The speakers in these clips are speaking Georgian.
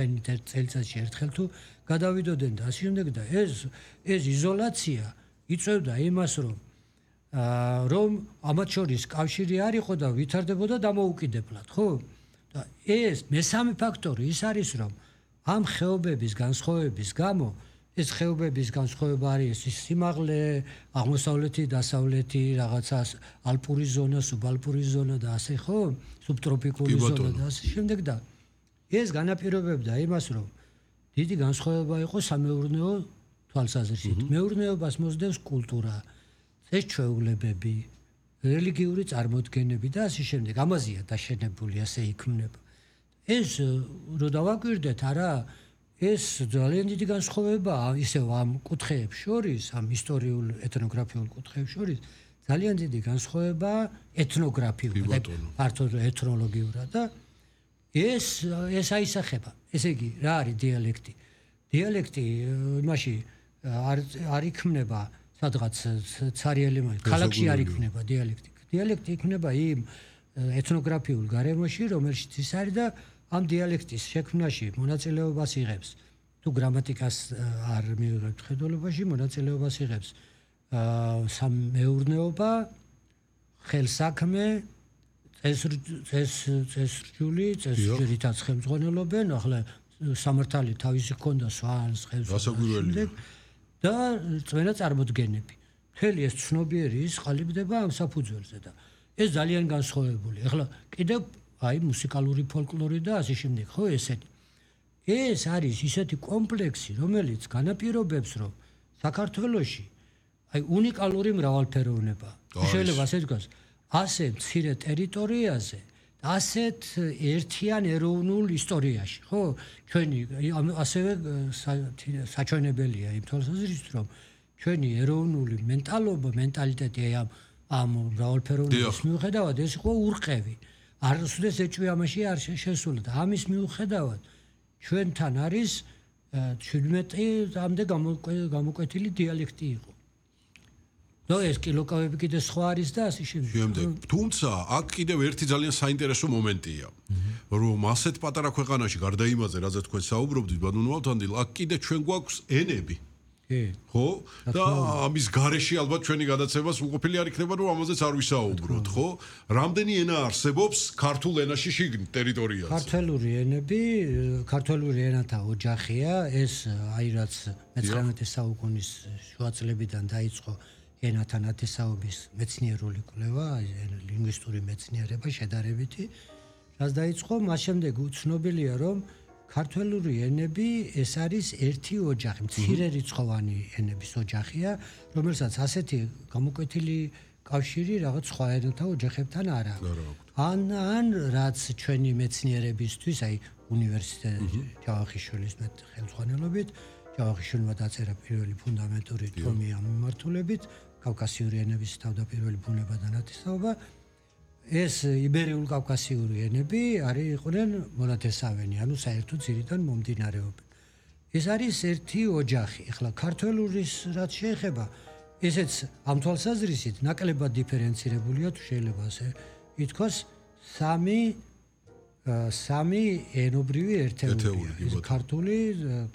წელიწადში ერთხელ თუ გადავიდოდნენ და ასე შემდეგ და ეს იზოლაცია იწევდა იმას რომ ამათ შორის კავშირი არ იყო და ვითარდებოდა დამოუკიდებლად, ხო? და ეს მესამე ფაქტორი ის არის რომ ამ ხეობების განსხვავების გამო ეს ხეობების განსხვავება არის სიმაღლე, აღმოსავლეთი, დასავლეთი, რაღაცა ალპური ზონა, სუბალპური ზონა და ასე ხო? სუბტროპიკული ზონა და ასე შემდეგ და ეს განაპირობებდა იმას რომ დიდი განსხვავება იყო სამეურნეო თვალსაზრისით. მეურნეობას მოსდევს კულტურა, წესჩვეულებები, რელიგიური წარმოდგენები და ასე შემდეგ. ამაზეა დაშენებული, ასე იქმნება. ეს რო დავაკვირდეთ, არა, ეს ძალიან დიდი განსხვავებაა ისევ ამ კუთხეებს შორის, ამ ისტორიულ ეთნოგრაფიულ კუთხეებს შორის, ძალიან დიდი განსხვავებაა ეთნოგრაფიულად, ფართოდ ეთნოლოგიურად და ეს აისახება. ესე იგი, რა არის დიალექტი? დიალექტი იმაში არ იქმნება სადღაც ცარიელი ქალაქში არ იქმნება დიალექტი. დიალექტი იქმნება იმ ეთნოგრაფიულ გარემოში, რომელშიც ის არის და ამ დიალექტის შექმნაში მონაწილეობას იღებს. თუ გრამატიკას არ მივიღებთ ხედველობაში, მონაწილეობას იღებს სამეურნეობა, ხელსაქმე, წესრიგითაც ხელმძღვანელობენ, ახლა სამართალი თავისი ჰქონდა სვანს, ხელსაქმე და წვენა წარმოდგენები. მთელი ეს ცნობიერი ის ყალიბდება ამ საფუძველზე და ეს ძალიან განსხვავებული. ახლა კიდევ აი მუსიკალური ფოლკლორი და ასე შემდეგ, ხო ესეთი. ეს არის ისეთი კომპლექსი, რომელიც განაპირობებს, რომ საქართველოში აი უნიკალური მრავალფეროვნება. შეიძლება ასე თქვას, ასე მცირე ტერიტორიაზე, ასეთ ერთიან ეროვნულ ისტორიაში, ხო? ჩვენი ასევე საჩვენებელია იმ თვალსაზრისით, რომ ჩვენი ეროვნული მენტალიტეტი ამ მრავალფეროვნების მიუხედავად ეს იყო ურყევი. არასოდეს ეჭვი ამაში არ შესულა და ამის მიუხედავად ჩვენთან არის 17-მდე გამოკვეთილი დიალექტი იყო. და ეს კილოკავები კიდე სხვა არის და ასე შემდეგ. თუმცა აქ კიდევ ერთი ძალიან საინტერესო მომენტია, რომ ასეთ პატარა ქვეყანაში გარდა იმაზე, რაზეც თქვენ საუბრობდით, ბატონო ავთანდილ, აქ კიდე ჩვენ გვაქვს ენები. ხო? და ამის გარეშე ალბათ ჩვენი გადაცემას უყოფილი არ იქნება, რომ ამაზეც არ ვისაუბროთ, ხო? რამდენი ენა არსებობს ქართულ ენაში შიგნით ტერიტორიაზე? ქართველური ენათა ოჯახია, ეს აი რაც მე-19 საუკუნის შუა წლებიდან დაიწყო ენათა ნათესაობის მეცნიერული კვლევა, ლინგვისტური მეცნიერება შედარებითი, რაც დაიწყო, მას შემდეგ უცნობელია, რომ ქართველური ენები ეს არის ერთი ოჯახი, მცირე რიცხოვანი ენების ოჯახია, რომელსაც ასეთი გამოკვეთილი კავშირი რაღაც სხვა ენათა ოჯახებთან არ აქვს. ან რაც ჩვენი მეცნიერებისთვის, აი უნივერსიტეტი ჯავახიშვილის ხელმძღვანელობით, ჯავახიშვილმა დაწერა პირველი ფუნდამენტური ტომი ამ მიმართულებით, კავკასიური ენების თავდაპირველი ბუნება და ნათესაობა. ეს იბერიულ კავკასიური ენები იყვნენ მონათესავენი, ანუ საერთო ძირიდან მომდინარეობენ. ეს არის ერთი ოჯახი. ახლა ქართველურის რაც შეეხება, ესეც ამ თვალსაზრისით ნაკლებად დიფერენცირებულია, თუ შეიძლება ასე ითქვას, სამი ენობრივი ერთეულია.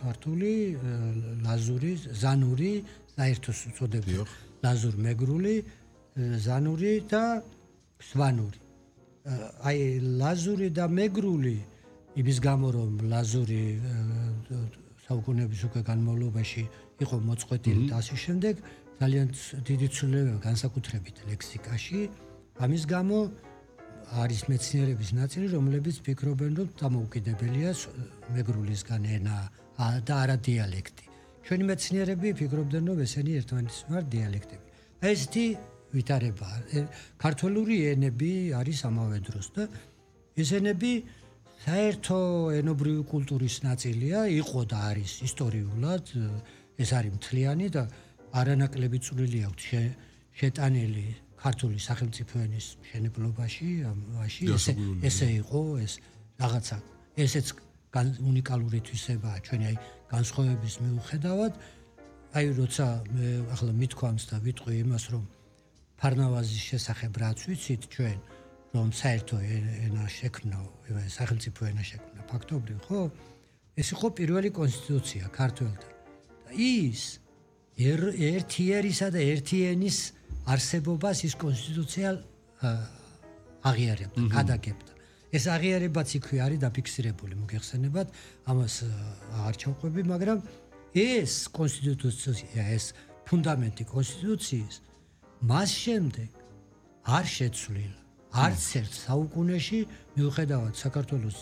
ქართული, ლაზური, ზანური, საერთოს უწოდებენ ლაზურ-მეგრული, ზანური და სვანური. აი ლაზური და მეგრული იმის გამო რომ ლაზური საუკუნეების უკვე განმავლობაში იყო მოწყვეტილი და ასე შემდეგ, ძალიან დიდი ცვლილებაა განსაკუთრებით ლექსიკაში. ამის გამო არის მეცნიერების ნაწილი, რომლებიც ფიქრობენ, რომ დამოუკიდებელია მეგრულისგან ენა და არა დიალექტი. ჩვენი მეცნიერები ფიქრობდნენ, რომ ესენი ერთმანეთის მიმართ დიალექტები. ესეთი ვითარება. ქართველური ენები არის ამავე დროს და ეს ენები საერთო ენობრივი კულტურის ნაწილია, იყო და არის ისტორიულად, ეს არის მთლიანი და არანაკლები წვლილი აქვს შეტანილი ქართული სახელმწიფო ენის მშენებლობაში, ესე იყო, ეს რაღაცა, ესეც უნიკალური თვისებაა ჩვენი აი განსხვავების მიუხედავად. აი როცა მე ახლა მithქვამს და ვიტყვი იმას, რომ ფარნავაზის შესახებ რაც ვიცით ჩვენ, რომ საერთო ენა შექმნა, სახელმწიფო ენა შექმნა ფაქტობრივ, ხო? ეს იყო პირველი კონსტიტუცია ქართველთა. და ის ერთიერისა და ერთიანის არსებობას ის კონსტიტუცია აღიარებდა, გადაგებდა. ეს აღიარებაც იქვე არის დაფიქსირებული, მოგეხსენებათ, ამას არ ჩავყვები, მაგრამ ეს კონსტიტუცია, ეს ფუნდამენტი კონსტიტუციის მას შემდეგ არ შეცვლილა. არც ერთ საუკუნეში მიუხედავად საქართველოს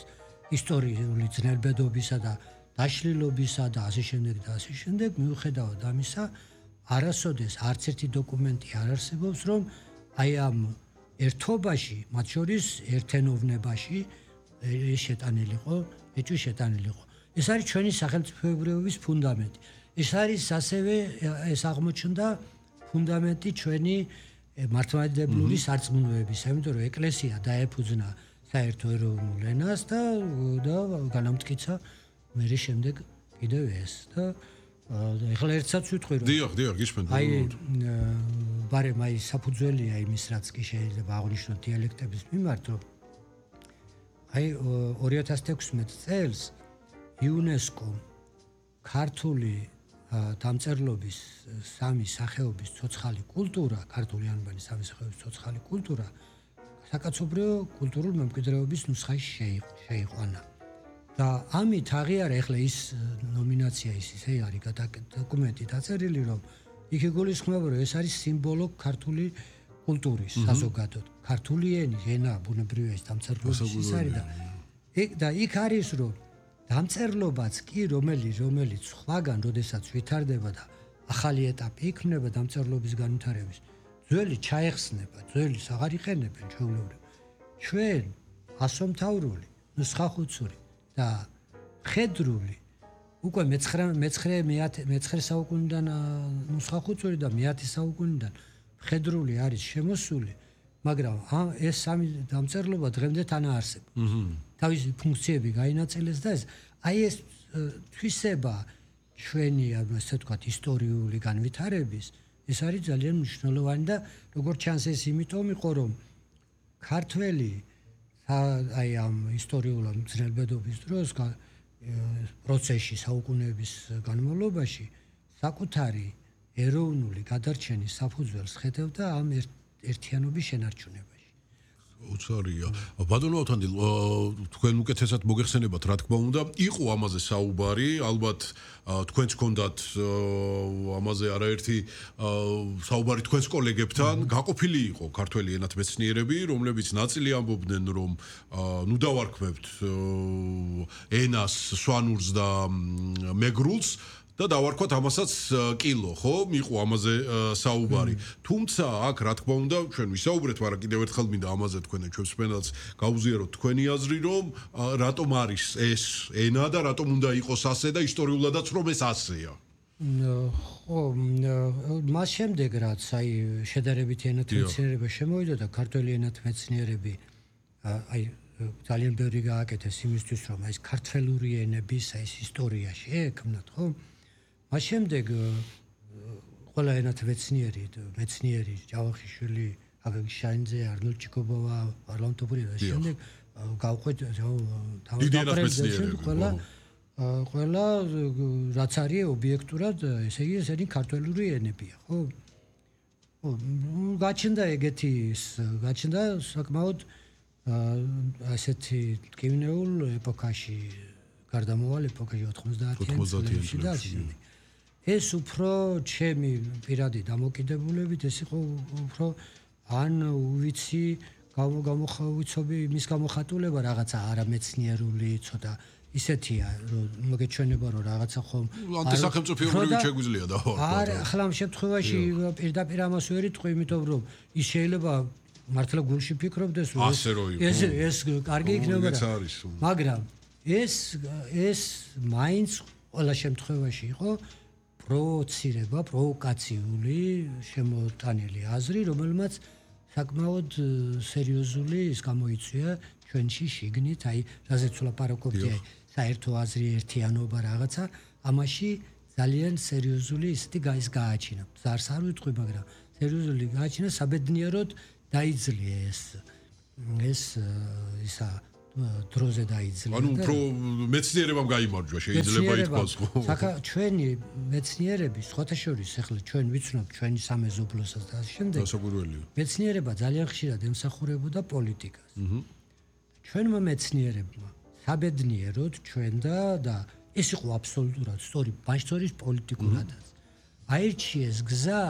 ისტორიული ძნელბედობისა და დაშლილობისა და ასე შემდეგ, მიუხედავად ამისა, არასოდეს არც ერთი დოკუმენტი არ არსებობს, რომ აი ამ ერთობაში, მათ შორის ერთენოვნებაში შეტანილიყო, ეჭვი შეტანილიყო. ეს არის ჩვენი სახელმწიფოებრიობის ფუნდამენტი. ეს არის ასევე ეს აღმოჩნდა ფუნდამენტი ჩვენი მართლმადიდებლური სარწმუნოებისა, იმიტომ რომ ეკლესია დაეფუძნა საერთო ეროვნულ ენას და განამტკიცა მერე შემდეგ კიდევ ეს და ეხლა ერთსაც ვიტყვი რომ დიახ, გიშმენთ. აი ბარემ აი საფუძველია იმის რაც კი შეიძლება აღნიშნოთ დიალექტების მიმართ რომ აი 2016 წელს იუნესკო ქართული დამწერლობის სამი სახეობის ცოცხალი კულტურა, ქართული ანბანი სამი სახეობის ცოცხალი კულტურა საკაცობრიო კულტურულ მემკვიდრეობის ნუსხაში შეიყვანა. და ამით აღიარა ეხლა ის ნომინაცია ისე არის დოკუმენტი დაწერილი, რომ იქ იგულისხმება, რომ ეს არის სიმბოლო ქართული კულტურის საზოგადოდ. ქართული ენა, ბუნებრივია ეს დამწერლობის ის არის და იქ არის რომ დამწერლობაც კი რომელიც სხვაგან როდესაც ვითარდება და ახალი ეტაპი იქმნება დამწერლობის განვითარების, ძველი ჩაეხსნება, ძველის აღარ იყენებენ ჩვეულებრივ. ჩვენ ასომთავრული, ნუსხახუცური და მხედრული უკვე მე-9 საუკუნიდან ნუსხახუცური და მე-10 საუკუნიდან მხედრული არის შემოსული, მაგრამ ეს სამი დამწერლობა დღემდე თან არსებობს. თავისი ფუნქციები გაინაწილეს და ეს თვისება ჩვენი, ასე ვთქვათ, ისტორიული განვითარების, ეს არის ძალიან მნიშვნელოვანი და როგორც ჩანს ეს იმიტომ იყო, რომ ქართველი აი ამ ისტორიულ ძნელბედობის დროს პროცესში საუკუნეების განმავლობაში საკუთარი ეროვნული გადარჩენის საფუძველს ხედავდა ამ ერთიანობის შენარჩუნებაში. უცარია. ბატონო ავთანდილ, თქვენ უკეთესად მოგეხსენებათ, რა თქმა უნდა, იყო ამაზე საუბარი, ალბათ თქვენც გქონდათ ამაზე არაერთი საუბარი თქვენს კოლეგებთან, გაყოფილი იყო ქართველი ენათმეცნიერები, რომლებიც ნაწილი ამბობდნენ, რომ ნუ დავარქმევთ ენას, სვანურს და მეგრულს და დავარქვათ ამასაც კილო, ხო? მიყო ამაზე საუბარი. თუმცა აქ რა თქმა უნდა, ჩვენ ვისაუბრეთ, მაგრამ კიდევ ერთხელ მინდა ამაზე თქვენ ჩვენს სპენალს გაუზიაროთ თქვენი აზრი, რომ რატომ არის ეს ენა და რატომ უნდა იყოს ასე და ისტორიულადაც რომ ეს ასეა. ხო, მას შემდეგ რაც აი შედარებითი ენათმეცნიერება შემოვიდა და ქართველი ენათმეცნიერები აი ძალიან ბევრი გააკეთეს იმისთვის, რომ ეს ქართველური ენების ეს ისტორია შეექმნათ, ხო? მას შემდეგ ყველა ენათმეცნიერი, მეცნიერი, ჯავახიშვილი, აგეგ შაინძე, არნოლდ ჩიკობოვა, ვარლამ ტოპურია და შემდეგ გავყვეთ თავდაპირველად ყველა რაც არის ობიექტურად, ესე იგი ესენი ქართველური ენებია, ხო? გაჩნდა გაჩნდა საკმაოდ ასეთი ტკივნეულ ეპოქაში, გარდამავალ ეპოქაში 90-იანი წლებში. ეს უფრო ჩემი პირადი დამოკიდებულებით, ეს იყო უფრო ან უვიცი გამოხავიცობი მის გამოხატულება რაღაცა არამეცნიერული ცოტა ისეთია, რომ მოგეჩვენება, რომ რაღაცა ხომ ანტისახელმწიფოებრივი შეგვიძლია და ახლა ამ შემთხვევაში პირდაპირ ამას ვერ იტყვი, იმიტომ რომ ის შეიძლება მართლა გულში ფიქრობდეს, რომ ეს კარგი იქნება, მაგრამ ეს მაინც ყველა შემთხვევაში იყო პროვოკაციული შემოტანილი აზრი, რომელმაც საკმაოდ სერიოზული ის გამოიწვია ჩვენში შიგნით, აი რაზეც ვლაპარაკობდი, საერთო აზრი, ერთიანობა რაღაცა, ამაში ძალიან სერიოზული ისეთი გააჩინა. ზარს არ ვიტყვი, მაგრამ სერიოზული გააჩინა, საბედნიეროდ დაიძლია ისა დროზე დაიძინა. ანუ უფრო მეცნიერებამ გაიმარჯვა, შეიძლება ითქვას, ხო? ჩვენი მეცნიერები, სხვათა შორის, ახლა ჩვენ ვიცნობ ჩვენი სამეზობლოსაც და ასე შემდეგ. დასაკვირველია. მეცნიერება ძალიან ხშირად ემსახურებოდა პოლიტიკას. ჩვენმა მეცნიერებმა საბედნიეროდ ჩვენ და ეს იყო აბსოლუტურად სწორი, ბაჟთორის პოლიტიკურადაც. აირჩიეს გზა,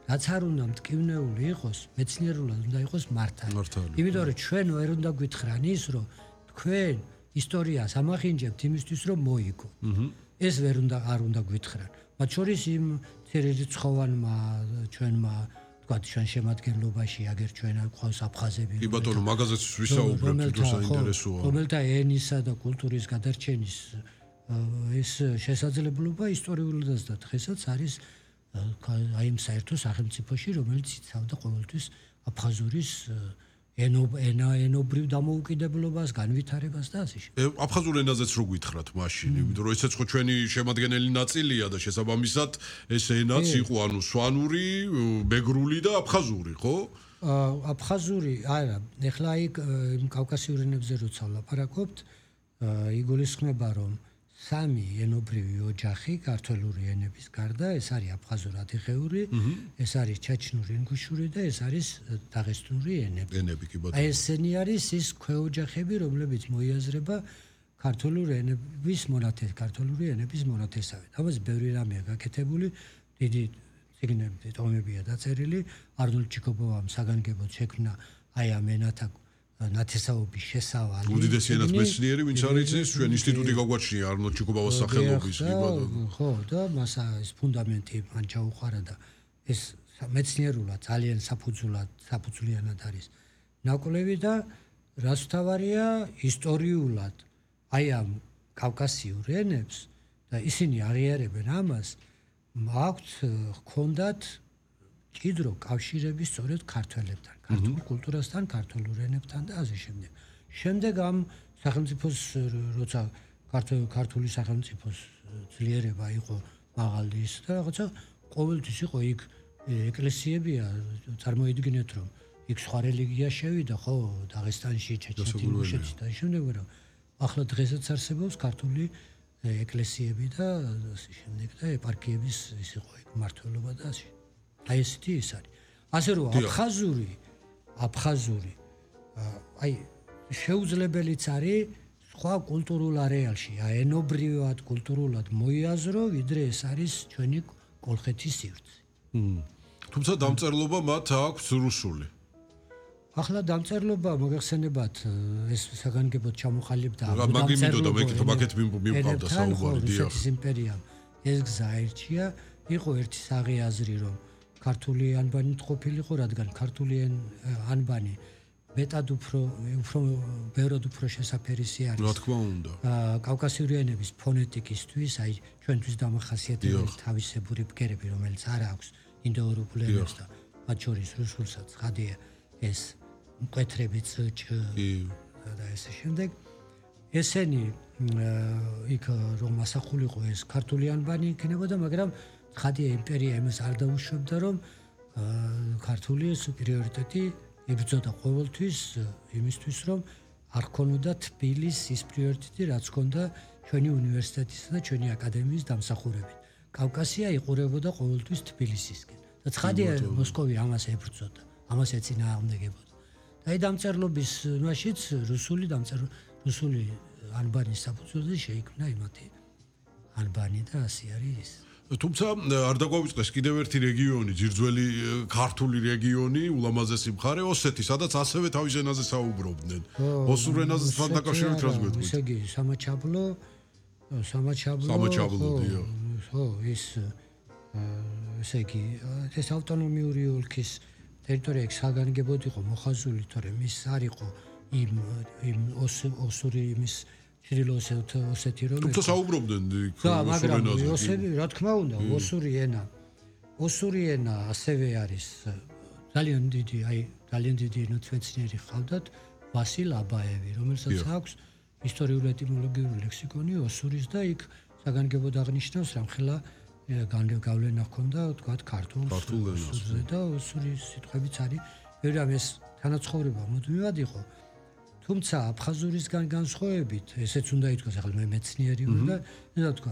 რაც არ უნდა მტკივნეული იყოს, მეცნიერულად უნდა იყოს მართალი. იმიტომ რომ ჩვენ ვერ უნდა გვითხრან ის, რომ თქვენ ისტორიას ამახინჯებთ იმისთვის, რომ მოიგო. ეს ვერ არ უნდა გვითხრან. მათ შორის იმ ცირერიცხოვანმა ჩვენმა თქვათ ჩვენ შემადგენლობაში აგერ ჩვენ ყავს აფხაზები. კი ბატონო, მაგაზეც ვისაუბრებთ, თუ საინტერესოა. რომელთა ენისა და კულტურის გადარჩენის ეს შესაძლებლობა ისტორიულადაც და დღესაც არის აი იმ საერთო სახელმწიფოში, რომელიც იცავდა ყოველთვის აფხაზურის ენობრივ დამოუკიდებლობას, განვითარებას და ასე შემდეგ. აფხაზურ ენაზეც რო გითხრათ მაშინ, იმიტომ რომ ესეც ხო ჩვენი შემადგენელი ნაწილია და შესაბამისად ეს ენაც იყო ანუ სვანური, ბეგრული და აფხაზური, ხო? აფხაზური, არა, ეხლა იქ კავკასიურ ენებზე როცა ვლაპარაკობთ, იგულისხმება რომ სამი ენობრივი ოჯახი ქართველური ენების გარდა, ეს არის აფხაზურ-ადიღეური, ეს არის ჩაჩნური, ინგუშური და ეს არის დაღესტნური ენები. ენები კი ბატონო. აი ესენი არის ის ქვეოჯახები, რომლებიც მოიაზრება ქართული ენების მონათესავედ. ამაზე ბევრი რამეა გაკეთებული, დიდი ციგნები, ტომებია დაწერილი, არნოლდ ჩიკობოვამ საგანგებოდ შექმნა აი ამ ენათა ნათესაობის შესავალი. უდიდესი ენათ მეცნიერი, ვინც არის ეს ჩვენ ინსტიტუტი გაგვაჩნია არნოლდ ჩიკობოვას სახელობის, კი ბატონო. ხო, და მას ეს ფუნდამენტი მან ჩაუყარა და ეს მეცნიერულად ძალიან საფუძვლიანად არის ნაკვლევი და რაც თავარია ისტორიულად აი ამ კავკასიურ ენებს და ისინი აღიარებენ ამას, აქვთ ჰქონდათ კიდრო კავშირები სწორედ ქართველებთან, ქართულ კულტურასთან, ქართულ ენებთან და ასე შემდეგ. შემდეგ ამ სახელმწიფოს როცა ქართული სახელმწიფოს ძლიერება იყო მაღალი ის და რაღაცა ყოველთვის იყო იქ ეკლესიებია, წარმოიდგინეთ რომ იქ სხვა რელიგია შევიდა, ხო, დაღესტანში, ჩეჩნეთში, ინგუშეთში და შემდეგ რომ ახლა დღესაც არსებობს ქართული ეკლესიები და ასე შემდეგ და ეპარქიების ის იყო იქ მმართველობა და ასე. აი ესეთი ის არის. ასე რომ აფხაზური აი შეუძლებელიც არის სხვა კულტურულ არეალში, ენობრივად, კულტურულად მოიაზრო, ვიდრე ეს არის ჩვენი კოლხეთის სივრცე. თუმცა დამწერლობა მათ აქვს რუსული. ახლა დამწერლობა მოგეხსენებათ ეს საგანგებოდ ჩამოყალიბდა მაგეთ მიმყავდა საუბარი დიახ. რუსეთის იმპერიამ ეს გზა აირჩია, იყო ერთი საღი აზრი რომ ქართული ანბანით ყოფილიყო, რადგან ქართული ანბანი მეტად უფრო ბევრად უფრო შესაფერისი არის. რა თქმა უნდა. კავკასიური ენების ფონეტიკისთვის, აი ჩვენთვის დამახასიათებელი თავისებური ბგერები, რომელიც არ აქვს ინდოევროპულ ენებს და მათ შორის რუსულსაც ხადია ეს მკვეთრები წ და ესე შემდეგ. ესენი იქ რომ ასახულიყო ეს ქართული ანბანი იქნებოდა, მაგრამ ხადია იმპერია იმას არ დაუშვებდა რომ ქართული სუპერიორიტეტი იბრძოდა ყოველთვის იმისთვის რომ არ ქონოდა თბილის ის პრიორიტეტი რაც ქონდა ჩვენი უნივერსიტეტისა და ჩვენი აკადემიის დამსახურებით. კავკასია იყურებოდა ყოველთვის თბილისისკენ და ხადია მოსკოვი ამას ებრძოდა, ამას ეწინააღმდეგებოდა. და აი დამწერლობის მაშიც რუსული ანბანის საფუძველზე შეიქმნა იმათი ანბანი და ასე არის. თუმცა არ დაგვავიწყდეს კიდევ ერთი რეგიონი, ძირძველი ქართული რეგიონი, ულამაზესი მხარე ოსეთი, სადაც ასევე თავის ენაზე საუბრობდნენ. ოსურ ენაზე თან დაკავშირებით რას გვეტყვით? ესე იგი, სამაჩაბლო, დიახ. ხო, ესე იგი, ეს ავტონომიური ოლქის ტერიტორია საგანგებოდ იყო მოხაზული, თორემ ის არ იყო იმ ოსური იმის ოსეთი რომ თუმცა საუბრობდნენ მაგრამ ოსები რა თქმა უნდა ოსური ენა ასევე არის ძალიან დიდი ენათმეცნიერი ხავდათ ვასილ აბაევი რომელსაც აქვს ისტორიული ეტიმოლოგიური ლექსიკონი ოსურის და იქ საგანგებოდ აღნიშნავს რამხელა გავლენა ჰქონდა თქვათ ქართულზე და ოსურის სიტყვებიც არის ბევრი ამ ეს თანაცხოვრება მუდმივად იყო თუმცა აფხაზურისგან განსხვავებით, ესეც უნდა ითქვას, ახლა მე მეცნიერი ვარ და უნდა ვთქვა,